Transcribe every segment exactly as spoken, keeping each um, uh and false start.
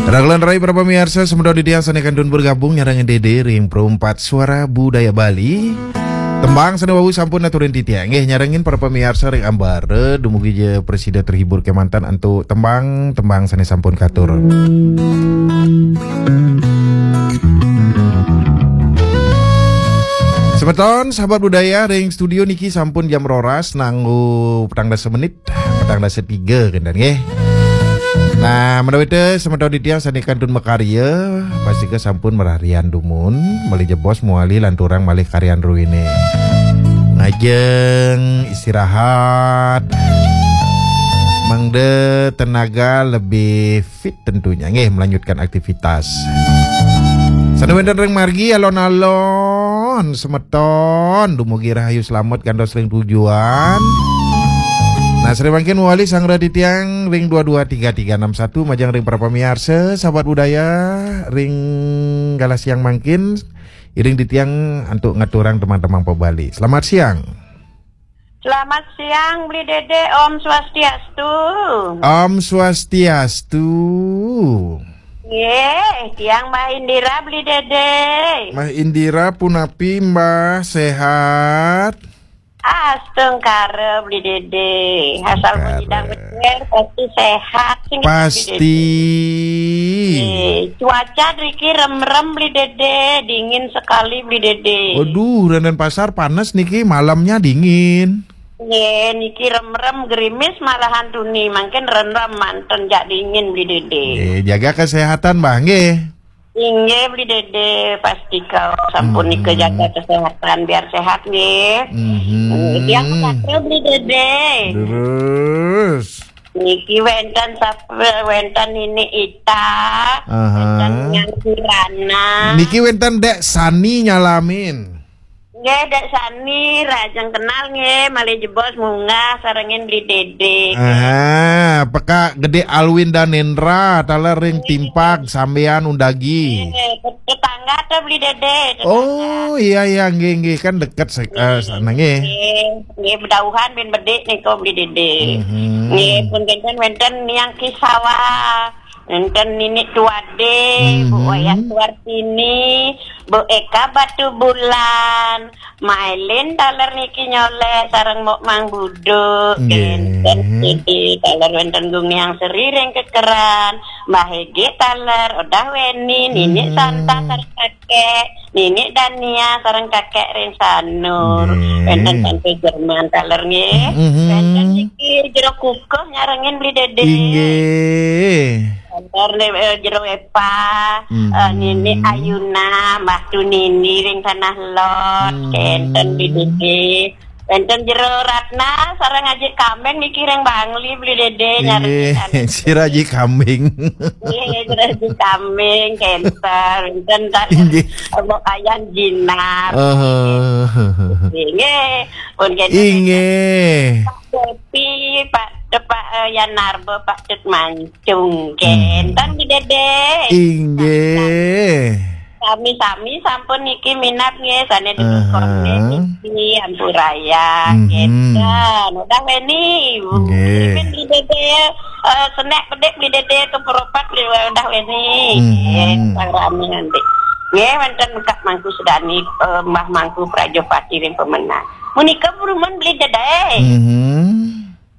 Rahajeng rai para pamiarsa, semeton titiang sane kantun bergabung nyarengin Dede ring Perempat Suara Budaya Bali. Tembang sane wau sampun aturin titiang. Nggih, nyarengin para pamiarsa ring ambara, dumugi ja prasida terhibur kemanten antuk tembang-tembang sane sampun katur. Semeton sahabat budaya, ring studio niki sampun jam roras nganggo petang dasa menit, petang dasa tiga kenten nggih. Nah, menawi te semeton titiang sane kantun makarya, pastika sampun mararian dumun, malih jebos mawali lanturang malih karyan druene. Ngajeng istirahat, mangda tenaga lebih fit tentunya nggih melanjutkan aktivitas. Sane wenten ring margi alon-alon semeton dumugi rahayu slamet kantos ring tujuan. Nah, sane mangkin mawali sareng titiang ring dua dua tiga tiga enam satu, majeng ring para pamiarsa sahabat budaya ring galah siang mangkin, iring titiang antuk ngaturang tembang-tembang pop Bali. Selamat siang. Selamat siang, Bli Dede. Om Swastiastu. Om Swastiastu. Nggih, tiang Mbah Indira, Bli Dede. Mbah Indira punapi, Mbah, sehat? Astungkara, Bli Dede. Asal Astungkara. Puji dan bener, pasti sehat, sing Bli Dede. Pasti. Nggih, cuaca driki remrem, Bli Dede. Dingin sekali, Bli Dede. Waduh, ring Denpasar panas niki, malamnya dingin. Nggih, niki remrem gerimis malahan tuni, mangkin remrem manten jak dingin, Bli Dede. Nggih, jaga kesehatan, Mbah, nggih. Inggih, Bli Dede, pastika sampun nika jaga kesehatan, biar sehat, nggih. Mhm. Nggih, tiang Bli Dede. Terus. Niki wenten sap-, wenten Nini Ita, aha, wenten Nyang Kirana. Niki wenten Dek Sani nyalamin. Nggih, Dek Sani, rahajeng kenal nggih, malih jebos munggah sarengin Bli Dede. Aha, Peka Gede Alwin Danendra, taler ring Timpag, sambian undagi. Nggih, tetangga to Bli Dede, tetangga. Oh, iya, iya, nggih, nggih, kan deket se-, eh, sana nggih. Nggih, nggih, bedauhan bin bedik nika Bli Dede. Mhm. Nggih, pun kenten wenten Nyang Kisawa. Enten Ninik Tuade, Bu Wayah Suartini, Bu Eka Batubulan, Mailin taler niki nyolek sareng Mok Mang Buduk, nggih. Enten Siti taler wenten Gung Niang Seri ring Kekeran, Mbah Ege taler, Odah Weni, Ninik Santa sareng kakek, Ninik Dania sareng kakek ring Sanur. Nggih. Enten Tante Jerman taler nggih. Mhm. Enten niki jero kukuh nyarengin Bli Dede. Inggih. Kantor, eh, Jero Epa, eh, Nini Ayuna, Mbah Tunini ring Tanah Lot, kenten Bli Dede. Wenten Jero Ratna, sareng Aji Kambing niki ring Bangli Bli Dede, nyari. Inggih, Jero Aji Kambing. Inggih, Jero Aji Kambing, kenten. Wenten ta-, inggih. Mbok Ayan Jinar. Eh. Inggih, pun kenten. Inggih. Pak Depi, Pak, Pak, eh, Yan Narba, Pak Tut Mancung, kenten Bli Dede. Inggih. Sami-sami sampun niki minab nggih, sane dukun niki, ampuraya, kenten. Udah Weni, Bu. Nggih. Mungkin Bli Dede, eh, senek bedik Bli Dede keperopat Bli, udah Weni. Nggih, sang rame nanti. Nggih, wenten Kak Mangku Sedani, eh, Mbah Mangku Prajopati ring Pemenang. Menika berumun Bli Dede.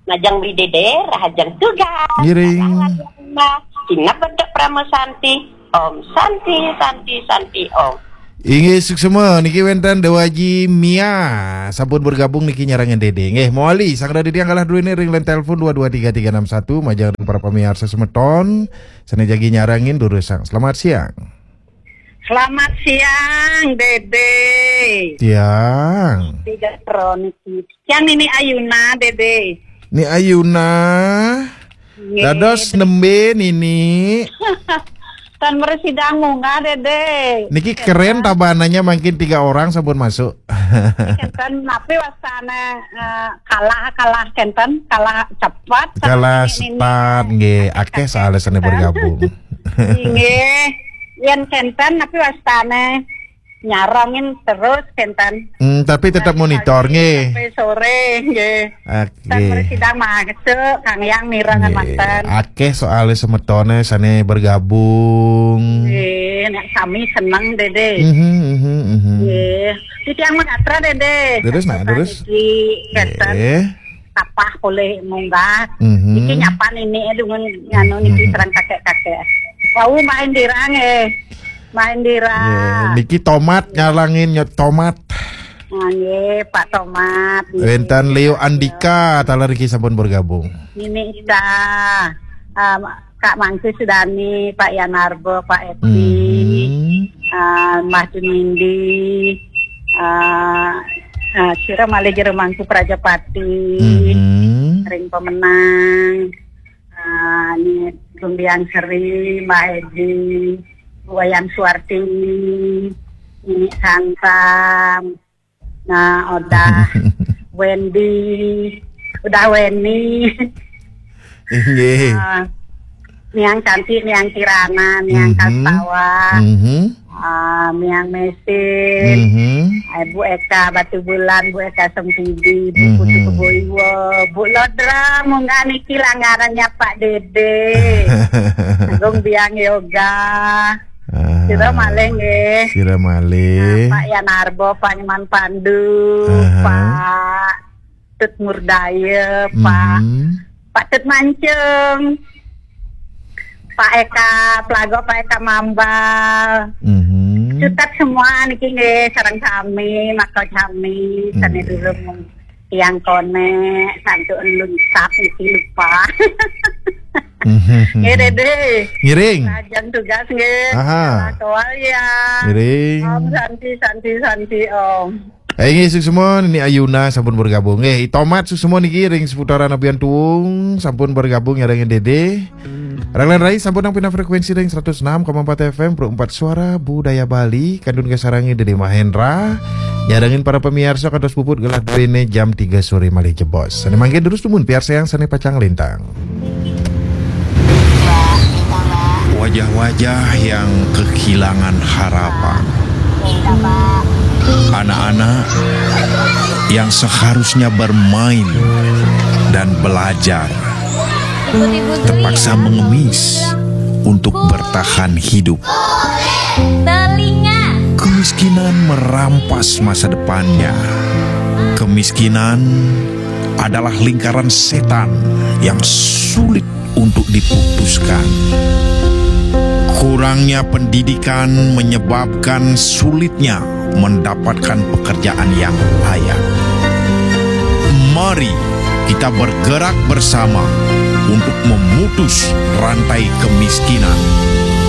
Majeng Bli Dede, rahajeng tugas. Ngiring. Rahajeng Mbah, sineb bentuk Parama Santi. Om Santi, Santi, Santi, Om. Inggih, suksma. Niki wenten Dewaji Mia. Sampun bergabung niki nyarengin Dede. Nggih, mawali. Sang Dede yang kalah dulu ini ring line telepon dua dua tiga tiga enam satu. Majeng ring para pamiarsa semeton. Sane jagi nyarengin durusang. Selamat siang. Selamat siang, Dede. Siang. Tiga Kroniki. Yang ini Ayuna, Dede. Ni Ayuna. Nggih, dados Dede. Nembe nini. Tan mresidang munggah, Dede. Niki keren tabanannya, makin tiga orang sampun masuk. Kenten, napi wastane, eh, kalah, kalah kenten, kalah cepat, kalah nini, nini. Cepat, nggih. Akeh soalnya sane bergabung. Nggih. Yen kenten, napi wastane? nyarangin terus kenten. Hmm, tapi tetap monitor nggih. Sampai sore nggih. Oke. Sampai sidang masuk, Kang Yang mirengan manten. Akeh soalnya semetone sane bergabung. Nggih, nek sami seneng, Dede. Mhm, mhm, mhm. Nggih. Titiang megatra, Dede. Terus, nah, terus. Iki keten. Nggih. Tapah oleh munggah. Mhm. Iki nyapa nini, eh, dengan nganu niki, mhm, serang kakek-kakek. Wau main dirang, eh. Main dirang. Nggih, niki tomat nyalangin, nyot tomat. Nah, nggih, Pak Tomat, nggih. Wenten Leo Andika, taler iki sampun bergabung. Nini Ida, um, Kak Mangku Sudani, Pak Yanarbo, Pak Eti, mhm, uh, Mbah Junindi, uh, uh, sira malih jero Mangku Prajapati, mhm, ring pemenang, uh, ni Gumbiang Seri, Mbah Edi, Wayan Suwarti, Nini Santam, nah, udah Wendy, udah Weni. Inggih. Ah, Miang Cantik, Miang Kirana, Miang, mhm, Kastawa, mhm, ah, Miang Mesin, mhm, eh, Bu Eka Batu Bulan, Bu Eka Sempidi, Bu, mhm, Putu Keboiwa, Bu Lodra, munggah niki langgarannya Pak Dede. Agung Biang Yoga. Ah, sira malih nggih. Sira malih. Nah, Pak Yanarbo, Pak Nyoman Pandu, aha, Pak Tut Murdaya, Pak, mhm, Pak Tut Mancung, Pak Eka Plago, Pak Eka Mambal. Mhm. Sutet semua niki nggih, sareng sami, maka sami, sami, mhm, dulu tiang konek, santuk lungsap niki lupa. Mhm. Nggih, Dede. Ngiring. Lajeng tugas nggih. Aha. Kawal ya. Ngiring. Om Santi, Santi, Santi, Om. Eh, nggih, suksma Nini Ayuna sampun bergabung. Nggih, Tomat suksma niki ring seputaran Abian Tuung sampun bergabung nyarengin Dede. Raglan Rai sampun nang pinah frekuensi ring seratus enam koma empat F M, Pro empat Suara Budaya Bali, kantun kasarengin Dede Mahendra. Nyarengin para pemirsa kantos puput gelah duene jam tiga sore malih jebos. Sane mangkin terus tumun piarsayang sane pacang lintang. Wajah-wajah yang kehilangan harapan. Anak-anak yang seharusnya bermain dan belajar terpaksa mengemis untuk bertahan hidup. Telinga. Kemiskinan merampas masa depannya. Kemiskinan adalah lingkaran setan yang sulit untuk diputuskan. Kurangnya pendidikan menyebabkan sulitnya mendapatkan pekerjaan yang layak. Mari kita bergerak bersama untuk memutus rantai kemiskinan